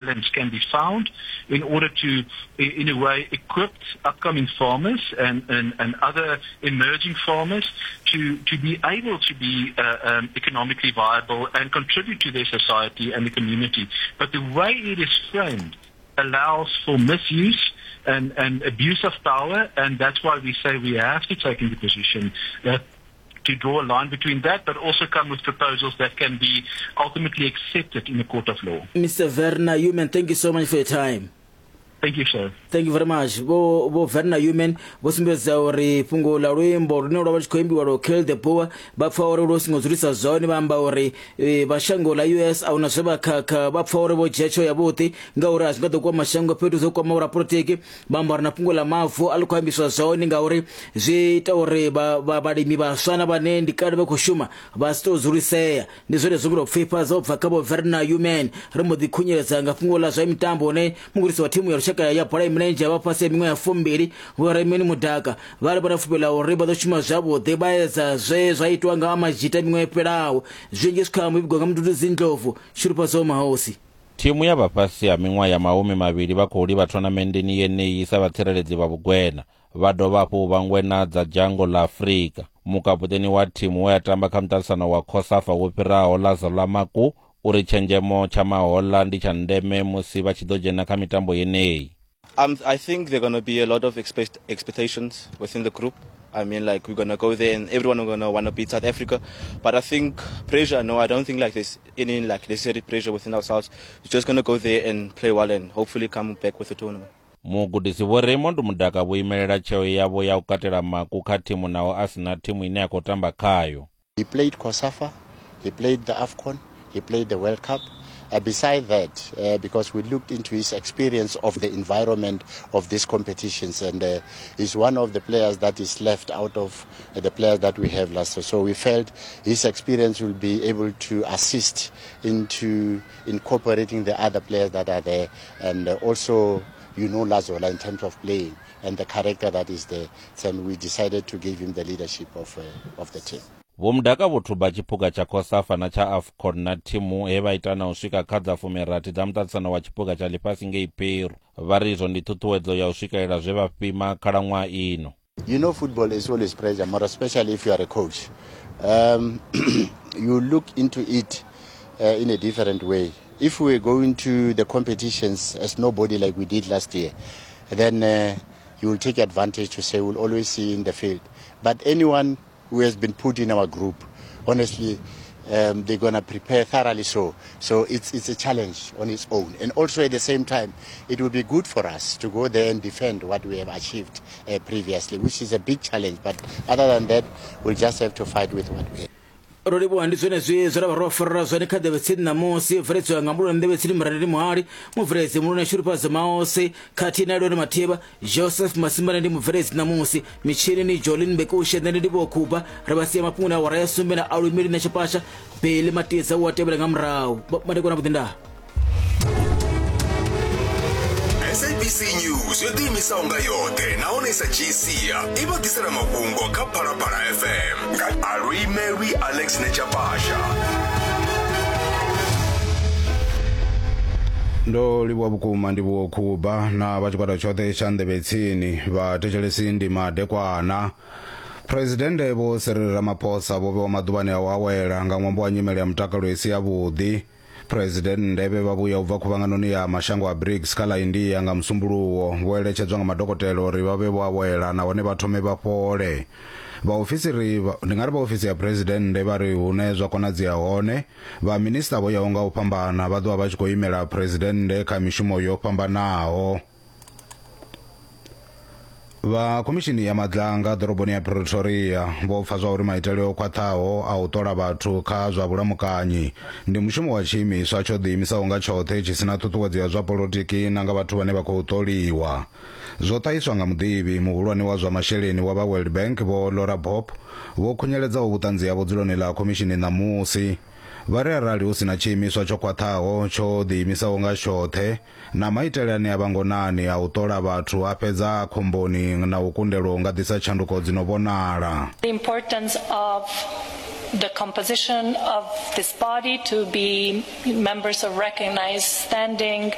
Balance can be found in order to, in a way, equip upcoming farmers and, and, and other emerging farmers to, to be able to be uh, um, economically viable and contribute to their society and the community. But the way it is framed allows for misuse and, and abuse of power, and that's why we say we have to take into position that to draw a line between that, but also come with proposals that can be ultimately accepted in a court of law. Mr. Werner Human, thank you so much for your time. Thank you, sir. Thank you very much. Vho Vho Werner Human vho sumbedza uri fhungo ḽa luimbo lune lwa vha tshi khou imbiwa lwo Kill the Boer vha pfa uri lwo singo dzulisa zwone vha amba uri eh, vha shango ḽa US ahuna zwe vha khakha vha pfa uri vho dzhia tsheo yavhuḓi ngauri a zwi nga ḓo kwama shango fhethu zwo kwama vhorapolotiki Vha amba uri na fhungo ḽa mavu a ḽi khou ambiswa zwone ngauri zwi ita uri vhalimi vhaswa na vhane ndi kale vha khou shuma vha si tou dzulisea. Ndi zwone zwo ngo pfifha dzo bva kha Vho Werner Human. Ri mbo ḓi khunyeledza nga fhungo ḽa zwa mitambo hune mugudisi wa thimu ya lushaka ya bola ya milenzhe ya vha fhasi ha miṅwaha ya fumbili Vho Raymond Mudaka vha ri vha na fulufhelo ḽa uri vha ḓo shuma zwavhuḓi vha edza zwe zwa itwa nga Amajita miṅwaha yo fhelaho. Zwinzhi zwi kha muvhigo nga Mduduzi Ndlovu, Shudufhadzo Mahosi. Thimu ya vha fhasi ha miṅwaha ya mahumi mavhili vha khou livha thonamenndeni yeneyi sa vhatsireledzi vha vhugwena. Vha dovha hafhu u vha ngwena dza dzhango ḽa Afrika. Mukapuṱeni wa thimu we a tamba kha muṱaṱisano wa COSAFA wo fhiraho Lazola Maku u ri tshenzhemo tsha mahoḽa ndi tsha ndeme musi vha tshi ḓo dzhena kha mitambo yeneyi. Um, I think there are going to be a lot of expect expectations within the group. I mean, like, we're going to go there and everyone is going to want to beat South Africa. But I think pressure, no, I don't think like there's any like necessary pressure within ourselves. We're just going to go there and play well and hopefully come back with the tournament. Mugudisi Vho Raymond Mudaka vho imelela tsheo yavho ya u katela Maku kha thimu naho a si na thimu ine a khou tamba khayo. He played COSAFA, he played the AFCON, he played the World Cup. Uh, beside that, uh, because we looked into his experience of the environment of these competitions, and uh, he's one of the players that is left out of the players that we have last year. So we felt his experience will be able to assist into incorporating the other players that are there, and uh, also you know Lazola in terms of playing and the character that is there. So we decided to give him the leadership of, uh, of the team. Vho Mudaka vho thuba tshiphuga tsha COSAFA na tsha AFCON na thimu he vha ita na u swika kha dza fumirathi dza muṱaṱisano wa tshiphuga tsha ḽifhasi ngei Peru. Vha ri izwo ndi ṱhuṱhuwedzo ya u swikelela zwe vha fhima khalaṅwaha ino. You know football is always pressure, more especially if you are a coach. Um, you look into it uh, in a different way. If we're going to the competitions as nobody like we did last year, then uh, you will take advantage to say we'll always see in the field. But anyone who has been put in our group, honestly, um, they're going to prepare thoroughly so. So it's, it's a challenge on its own. And also at the same time, it will be good for us to go there and defend what we have achieved uh, previously, which is a big challenge. But other than that, we'll just have to fight with what we have. Ro livhuwa ndi zwenezwi zwe ra vha ro farela zwone kha Nḓevhe Tsini ṋamusi bveledziwa nga Muloni Nḓevhe Tsini Murandeli Muhali mubveledzi Muloni Shurufhadzo Maosi khathihi na Lwendo Mathivha Joseph Masimbane ndi mubveledzi ṋamusi mitshinini Jolin Bekushe nṋe ndi Livhuwa Khuba ri vha sia mafhungoni a awara ya sumbe na Alumeli na Tshipasha Beli Matidza u a tevhela nga murahu madekwana vhuḓi ndaa SABC News yo ḓiimisaho nga yoṱhe nahone sa dzhii sia i vha ḓisela mafhungo kha Phalaphala FM nga Aluimelwi Alex Nechapasha. Ndo livhuwa vhukuma ndivhuwo Khuba na vha tshigwada tshoṱhe tsha nḓevhe tsini vha thetshelesi ndi madekwana. Phresidennde Vho Cyril Ramaphosa vho vhewa maḓuvhani a u awela nga ṅwambo wa nyimele ya mutakalo i si yavhuḓi. Phresidennde vhe vha vhuya u bva khuvhanganoni ya mashango a BRICS kha ḽa India nga Musumbuluwo vho eletshedzwa nga madokotela uri vha vhe vho awela nahone vha thome vha fhole. Vhaofisiri ndi nga ri vha ofisi ya Phresidennde vha ri hune zwa konadzea hone, vha minisiṱa vho yaho nga u fhambana vha ḓo vha vha tshi khou imela Phresidennde kha mishumo yo fhambanaho. Vha khomishini ya Madlanga ḓoroboni ya Pretoria vho pfa zwa uri maitele o khwaṱhaho a u ṱola vhathu kha zwa vhulamukanyi ndi mushumo wa tshiimiswa tsho ḓiimisaho nga tshoṱhe tshi si na ṱhuṱhuwedzo ya zwa polotiki na nga vhathu vhane vha khou ṱoliwa. Zwo ṱahiswa nga muḓivhi muhulwane wa zwa masheleni wa vha World Bank Vho Laura Bopp vho khunyeledzaho vhuṱanzi havho dzuloni ḽa khomishini ṋamusi. Vha ri arali hu si na tshiimiswa tsho khwaṱhaho tsho ḓiimisaho nga tshoṱhe na maitele ane a vha ngonani a u ṱola vhathu a fhedza a khomboni na u kundelwa u nga ḓisa tshanduko dzi no vhonala. The importance of the composition of this body to be members of recognized standing,